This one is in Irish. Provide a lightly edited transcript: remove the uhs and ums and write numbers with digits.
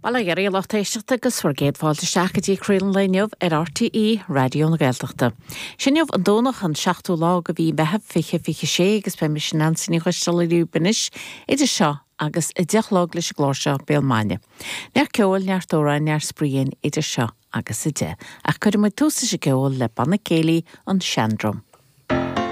Bail ó Dhia oraibh a lucht éisteachta agus bhur gcéad fáilte isteach go dtí Craoladh an Lae inniu ar RTÉ Raidió na Gaeltachta. Sé inniu an Domhnach an 7ú lá de mhí Mheithimh 2026 agus beidh mise Neansaí Ní Choisdealbha libh anois idir seo agus 10 a chlog leis an gclár seo Béal Maidine. Neart ceoil, neart amhráin, neart spraoi againn idir seo agus 10. Ach cuirfidh muid tús leis an gceol le Banna Céilí An Seandrum.